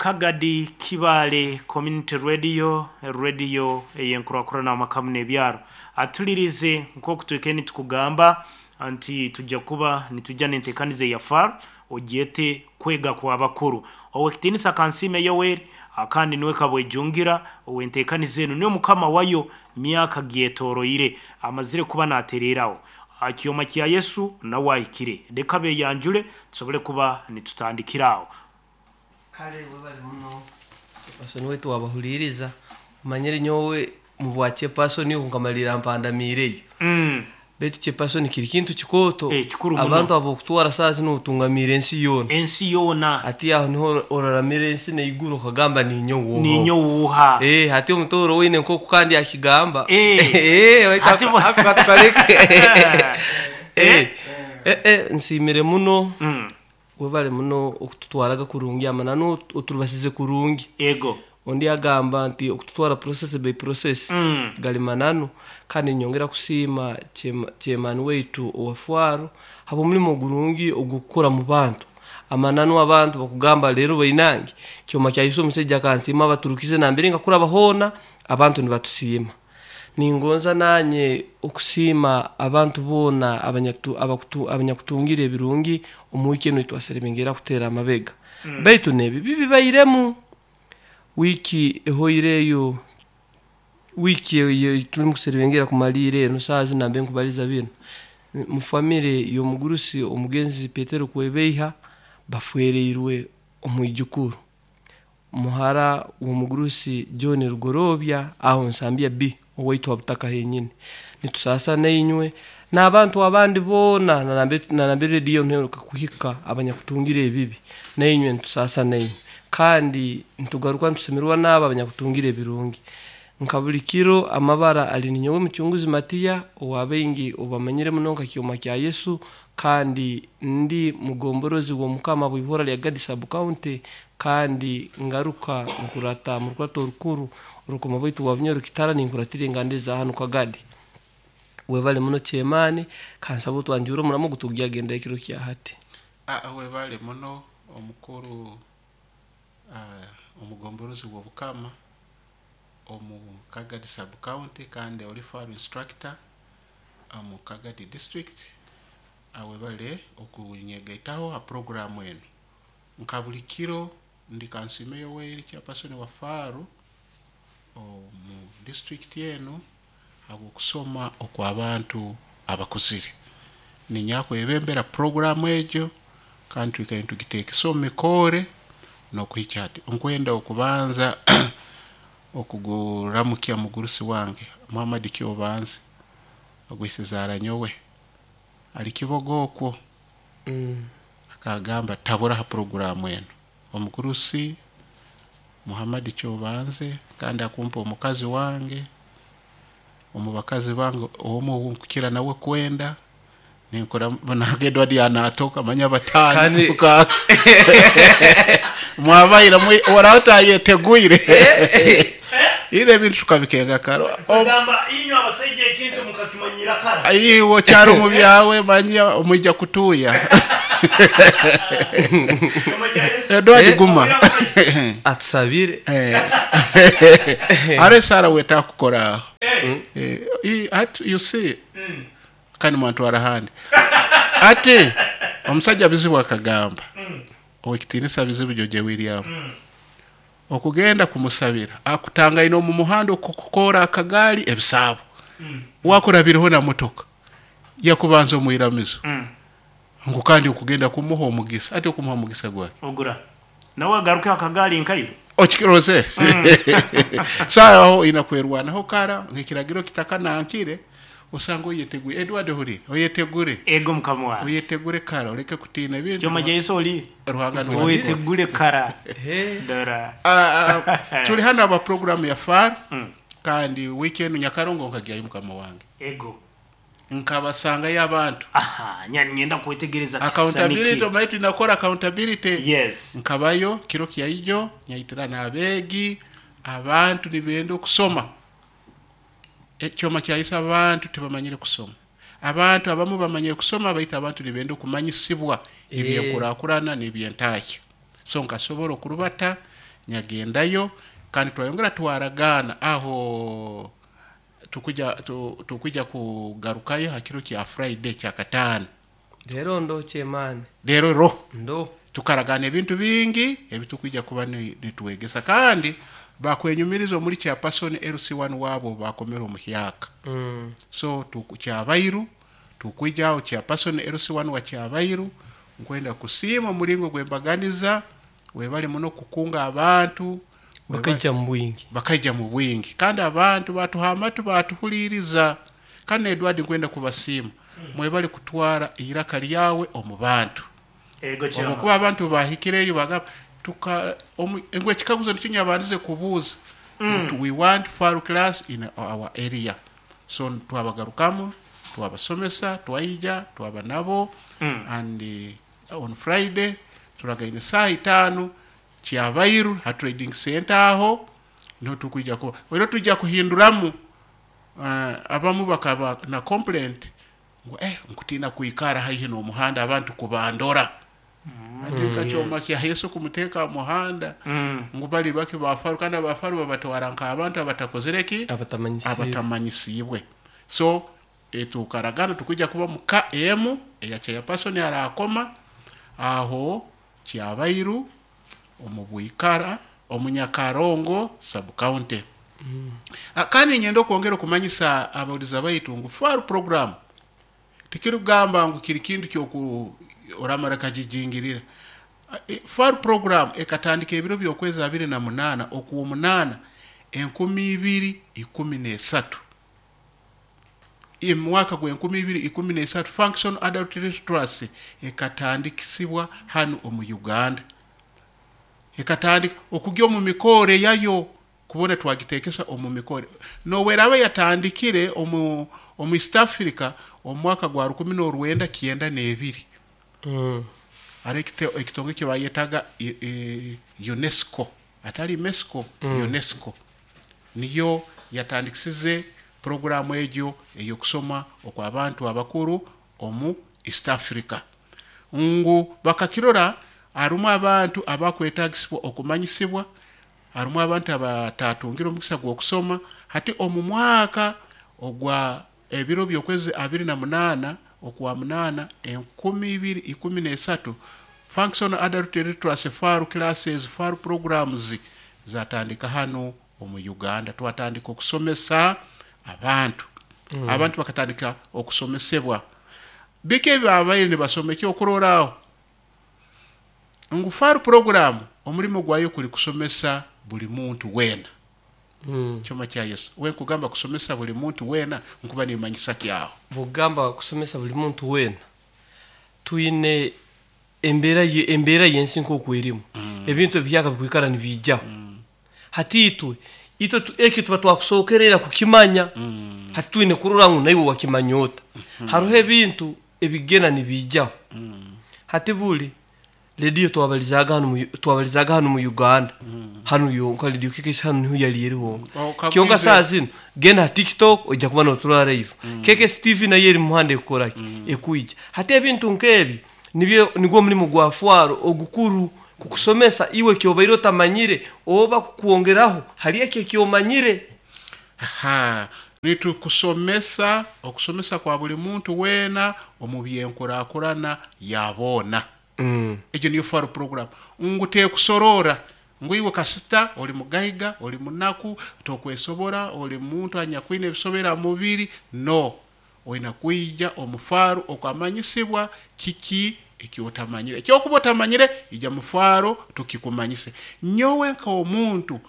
Kagadi Kibaale Community Radio, radio ey'enkurakurana amaka n'ebyaro. Atulirize nk'oku twikaire nitukugamba nti tujja kuba nitujja n'enteekaniza eya FAR ogyete kwega kw'abakuru. Ow'ekitiinisa Kansiime Yoweri kandi niwe Kabwejungira ow'enteekaniza enu niwe mukama wayo myaka gyetoroire amazire kuba naatereeraho. Kyoma kya Yesu nawe ahikire. Leka beeyanjule tusobole kuba nitutandikira aho. Kale webale muno chairperson waitu wabahuliiriza. Omanyire nyowe mubwa chairperson obu nkamalirra mpandamiireyo. Baitu chairperson kiri kintu kikooto. Kikuru muno. Abantu ab'okutwara saaha zinu otungamiire ensi yoona. Ensi yoona. Hati aho niho oraramira ensi n'eiguru okagamba ninyowe oha. Ninyowe oha. Hati omutooro weine nk'oku kandi akigamba. Baitu ako katukaleke. Nsiimire muno. Webale muno okututwaraga kurungi amananu oturubasize kurungi. Ego. Ondi agamba nti okututwara process by process gali mananu, kandi ninyongera kusiima chairman waitu owa FAR habw'omulimo ogurungi ogw'okukora mu bantu. Amananu abantu bakugamba leero bainange kyoma kya Yesu omusaija akansiima abaturukize nambere nkakuraba hoona abantu nibatusiima. Ningonza nanye okusiima abantu boona abanyakutungire ebirungi omu wiiki enu eitwaserebengera kuteera amabega. Baitu n'ebibi bibairemu. Wiiki ehoireyo, wiiki ei tulimu kuserebengera kumaliira enu saaha zinu nambere nkubaliza binu, mu famire y'omugurusi omugenzi Petero Kwebeiha bafwereirwe omwijukuru. Muhara w'omugurusi John Rugorobya aho Nsambya B owaitu ha butaka henyini. Nitusaasa nainywe n'abantu abandi boona nambere rediyo enu eheruka kuhika abanyakutungire ebibi, nainywe nitusaasa nainywe. Kandi nitugaruka nitusemererwa n'abo abanyakutungire ebirungi. Nka buli kiro amabara ali ninyowe Mucunguzi Matiya owa baingi obamanyire muno nka Kyoma kya Yesu, kandi ndi mugomborozi w'omukama bw'ihora lya Gadi Sub County, kandi ngaruka nkurata mu rukurato orukuru orukoma bwaitu bwa Bunyoro Kitara ninkuratira enganda eza hanu Kagadi. Webale muno chairman, kansaba otwanjure omuramo ogu tugyagendera ekiro kya hati. Webale muno omukuru omugomborozi w'obukama omu Kagadi Sub County kandi oli FAR instructor omu Kagadi district. Webale okunyegaitaho ha programu enu. Nka buli kiro ndi Kansiime Yoweri chairperson wa FAR omu district enu habw'okusoma okw'abantu abakuzire. Ninyakwebembera programu egyo kandi twikaire nitugiteekesa omu mikoore n'okuhikya hati. Nkwenda okubanza okuguramukya mugurusi wange Muhammad Kyobanze ogwisizaara nyowe ali Kiboga okwo. Akagamba tabura ha programu enu. Omugurusi Muhammad Kyobanze kandi akumpa omukazi wange, omu bakazi bange omu owu nkukira nawe kwenda ninkora nange Edward yanatoka manya batano mukaaga. Mwabaira oraho tayeteguire. Ire ebintu tukabikenga kare. Kugamba inywe abasaija ekintu mukakimanyira kara. Iwe okyari omu byawe manya omwija kutuuya. Edward guma. Atusabire. Hariho esaara wetaaga kukora aho. You see, kandi mwantwara ahandi. Ati omusaija Bizibu akagamba, ow'ekitiinisa Bizibu George William, okugenda kumusabira akutangaine omu muhanda okukoora akagaali ebisaabo. Wakurabireho na motoka yakubanza omu iramizo ngu kandi okugenda kumuha omugisa. Ati okumuha omugisa gwaki? Ogura nawe agaruke akagaali nkaiwe. Okiroze? Saaha aho oina kwerwanaho kara nk'ekiragiro kitakanankire osanga oyeteguire. Edward ohuriire? Oyetegure. Ego mukama wange. Oyetegure kara oreke kutiina ebintu. Kyoma kya Yesu oli? Ruhanga niwe Oyetegure kara. Dora. Turi hanu aba programu ya FAR kandi wiiki enu Nyakarongo nkagyayo mukama wange. Ego. Nkabasangayo abantu. Aha, nyenda kwetegereza Accountability, omanyi tulina kukora accountability. Yes. Nkabayo kiro kya ijo nyaitira n'abeegi, abantu nibenda okusoma. Ekyoma kya Yesu abantu tibamanyire kusoma. Abantu abamu bamanyire kusoma baitu abantu nibenda okumanyisibwa eby'enkurakurana n'eby'entahya. So nkasobora okurubata Nyagendayo kandi twayongera twaragaana aho tukuja kugarukayo ha kiro kya Friday kya kataano. Rero ndo chairman. Rero ro ndo tukaragana ebintu bingi ebitukwija kuba nitwegesa kandi bakwenyumiriza omuri chairperson LC1 wabo bakomera omuhyaka. So tukyabairu tukwijaho chairperson LC1 wa kyabairu nkwenda kusiima omulingo gwembaganiza webale muno kukunga abantu bakaija mu bwingi, bakaija mu bwingi kandi abantu batuha amatu batuhuliriza. Kandi Edward nkwenda kubasiima mwebale kutwara iraka lyawe omu bantu. Omukuba abantu bahikireyo bagamba tuka engwe ekikaguzo nikyo nyabandize kubuuza. We want FARU class in our area. So twabagarukamu twabasomesa twaija twaba nabo. And on Friday turagaine saa 5 kyabairu ha trading center aho niho tukwija kuba rero tujja kuhinduramu. Abamu bakaba na complaint ngo nkutina kuikara haihi n'omuhanda abantu kubandora. Atika kyoma kya Yesu kumuteka muhanda ngo bali bake bafaru kandi abafaru babatwara nka abantu abatakozereki abatamanyisibwe. So tukaragana tukujja kuba muka emu eya chairperson arakoma aho kyabairu omubwikara omunyakarongo sub county. Kandi nyenda okwongera okumanyisa abawuliza baitu ngu FARU program tikirugamba ngu kiri kintu kyoku oramara kajijingirira. FARU program ekatandika ebiro by'okwezi 28 okuwa 8 2013. Mwaka gwa 2013 Functional Adult Literacy ekatandikisibwa hano omu Uganda. Ekatandika okujya omu mikore yayo kubona twagitekesa omu mikore. Noweraba yatandikire omu East Africa omu mwaka gwa 1992. Ari ekitongo kibayetaga UNESCO, atari UNESCO, UNESCO niyo yatandikisize programu egyo eyokusoma okw'abantu abakuru omu East Africa. Ngu bakakirora harimu abantu abakwetagisibwa okumanyisibwa, harimu abantu abatatungira omukisa gw'okusoma. Hati omu mwaka ogwa ebiro by'okwezi 28 okuwa 8 2013 Functional Adult Literacy FARU classes, FARU programs zatandika hano omu Uganda. Twatandika okusomesa abantu. Abantu bakatandika okusomesebwa bike babaire nibasoma. Ekyokuroraaho ngu FARU program omulimo gwayo kuli kusomesa buli muntu wena. Kyoma kya Yesu we nkugamba kusomesa buli muntu wena nkuba nimanyisa kyaho bugamba kusomesa buli muntu wena twine embeera yensi nk'oku erimu ebintu ebihyaka bikwikara nibiijaho. Hati itwe ekyo tuba twakusookerera kukimanya. Hati twine kurora ngu naiwe wakimanya ota. Hariho ebintu ebigenda nibiijaho. Hati buli rediyo twabalizaga hano mu Uganda hano yonka rediyo KKC hano niho yali eriho. Kyonka saa zino genda TikTok ojja kuba noturora live. KKC TV nayo eri muhanda ekukoraki ekuija. Hati ebintu nkebi nibyo nigwo mulimu gwa FARU ogukuru kukusomesa iwe kyobaire otamanyire oba kukwongeraho hali ekyo ekyomanyire. Nitukusomesa okusomesa kwa buli muntu wena omu byenkurakurana yabona. Ekyo niyo FARU program ngu tekusorora ngu iwe kasita oli mugaiga oli munaku tokwesobora oli muntu anyakwine ebisobera mubiri. No, oyina kwija omu FARU okwamanyisibwa kiki ekyotamanyire. Ekyokuba otamanyire ija mu FARU tukikumanyise. Nyowe nk'omuntu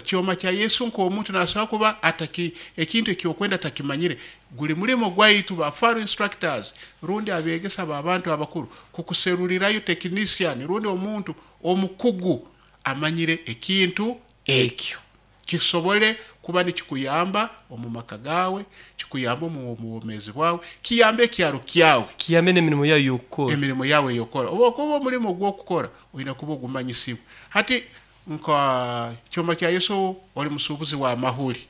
kyoma kya Yesu nk'omuntu nasobola kuba ataki ekintu ekyokwenda atakimanyire. Guli mulimo gwaitu ba FARU instructors rundi abegesa b'abantu abakuru kukuserulirayo technician rundi omuntu omukugu amanyire ekintu ekyo kisobole kuba nikikuyamba omu maka gawe, kikuyamba omu bwomeezi bwawe, kiyambe ekyaro kyawe, kiyambe n'emirimo yawe y'okukora, emirimo yawe y'okukora. Oba okuba omulimo gw'okukora oyina kuba ogumanyisibwe. Hati nka kyoma kya Yesu oli musuubuzi wa mahuli.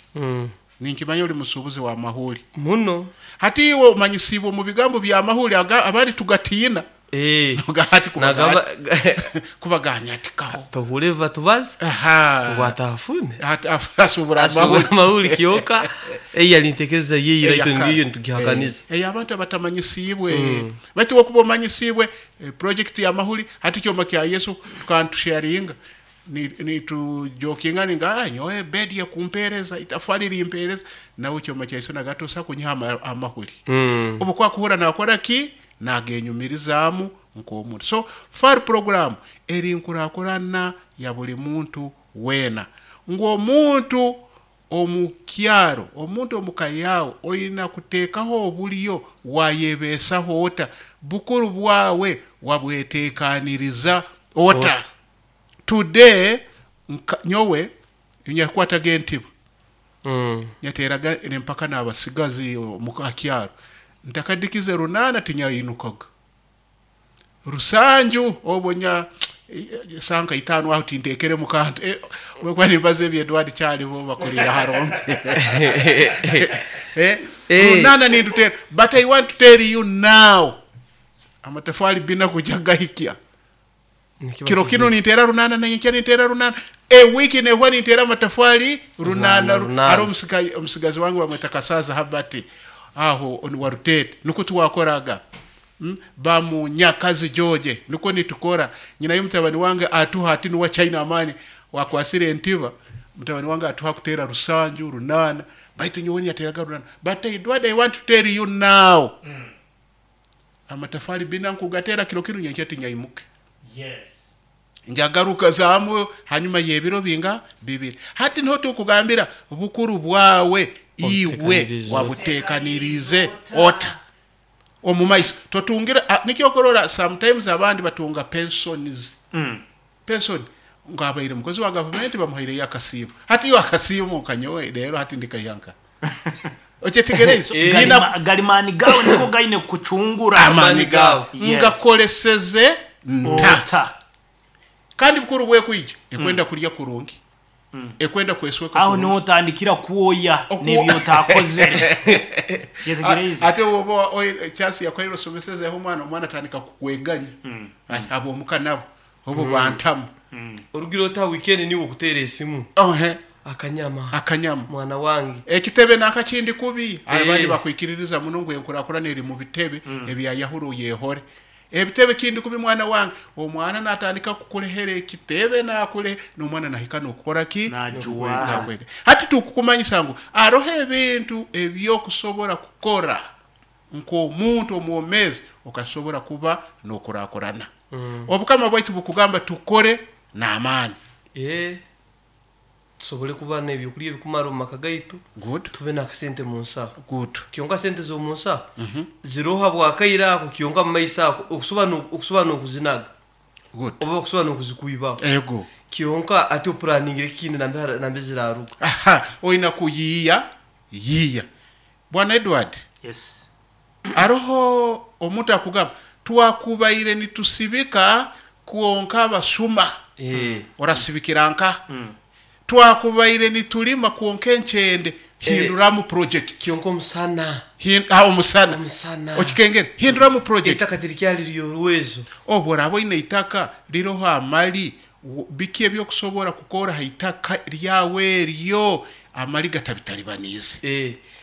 Ninkimanya oli musuubuzi wa mahuli muno. Hati iwe omanyisibwe omu bigambo bya mahuli abandi tugatiina. Hati Nagamba kubaganyatikaho. Tohule batubaza ngu atafune. Hati asubura asubura amahuri. Amahuri kyoka eyali ntekereza yeyi raito ngiyo nitugihakaniza. Abantu abatamanyisiibwe, baitu wokuba omanyisiibwe project ya mahuri, hati kyoma kya Yesu tukantusharinga nitujokinga ninga, "Ah, nyowe bedi yekumpereza itafari limpereza nawe kyoma kya Yesu nagatusa kunyiha amahuri." Obu kwakuhura nakora ki nagenyumirizaamu nk'omuntu. So FAR program eri nkurakurana ya buli muntu weena, ngu omuntu omukyaro, omuntu omuka yawe oyina kuteekaho obulyo wayebeesaho ota, bukuru bwawe wabweteekaniriza ota. Ota. Today nyowe nyakwataga entiba, nyateraga nempaka n'abasigazi mukakyaro, ntakadikize 8 tinyayinukaga rusanju, obwo nya sanka 5 aho tintekere mukantu. Wekwa nimbaza ebyo Edward kyalibo bakulira harombe. 8 nindutera, but I want to tell you now, amatafari bina kuja gahikya. Nikiba kiro kizibu. Kino nintera 8 nayenkya nintera 8, ewiki nehwa nintera amatafari 8. 8. Ari omusigazi wange bamweta Kasaza Habati aho warutete, niko tuwakoraga. Bamunyakazi George niko nitukora, nyina y'umutabani wange atuha ati nuwa China amani wakwasire entiba, mutabani wange atuha kutera 7 8, baitu nyowe yateraga 8. But Edward, I want to tell you now, amatafari bina nkugatera kiro kino, nyenkya tinyaimuke. Njagaruka zamu hanyuma y'ebiro binga 2. Hati niho tukugambira bukuru bwawe iwe Obutekanirize. Wabutekanirize ota omu maiso totungira nikyokorora sometimes abandi batunga pensions. Pension ngabaire mukozi wa gavumenti bamuhaireyo akasiimo, hati iyo akasiimo nkanyowe rero hati ndikayanka okyetegereze. Galimani gawe niko gaine kucungura. Amani Amani gawe. Gawe. Ngakoleseze nta? Ota. Kandi bukuru bwekwija ekwenda kulya kurungi, ekwenda kwesweka Aho kurungi. niho utandikira kuoya n'ebyo utakozere. Yetegereze. Ate woba chance yakwaire osomesezeho omwana, omwana atandika kukweganya. Abomuka nabo obo bantamu. Orugira ota weekend niwe okutera esimu. Ohe. Akanyama. Akanyama. Mwana wange. Ekitebe nakakindi kubi. Abandi bakwikiririza muno ngu enkurakurana eri mu bitebe ebyayahuro yehore ebitebe kindi kubi. Mwana wange, omwana natandika kukulehera ekitebe nakule nomwana nahika nokukora ki? Najuwa. Nakwega. Hati tukukumanyisa ngu aroho ebintu ebyokusobora kukora nk'omuntu omwomezi okasobora kuba nokurakurana. Obukama bwaitu bukugamba tukore n'amaani. Tusobole kuba n'ebyokulya ebikumara omu maka gaitu. Good. Tube n'akasente mu nsaho. Good. Kyonka sente z'omu nsaho ziroha bwakaire ako kyonka mu maiso ako okusoba n'okuzinaga Good. oba okusoba n'okuzikwibaho. Ego. Kyonka ate opuraningira ekindi nambe ziraruga. Aha, oyina kuyiiya yiiya, bwana Edward. Yes. Aroho omuntu akugamba twakubaire nitusibika kwonka abasuma. Orasibikira nka twakubaire nitulima kwonka enkyende, hinduramu project. Kyonka omusana. Omusana. Omusana. Okikengere, hinduramu project. Eitaka tirikyali ryorwezo. Obu oraba oine itaka riroho amali, biki ebyokusobora kukora ha itaka ryawe eryo amali gatabitalibaniize?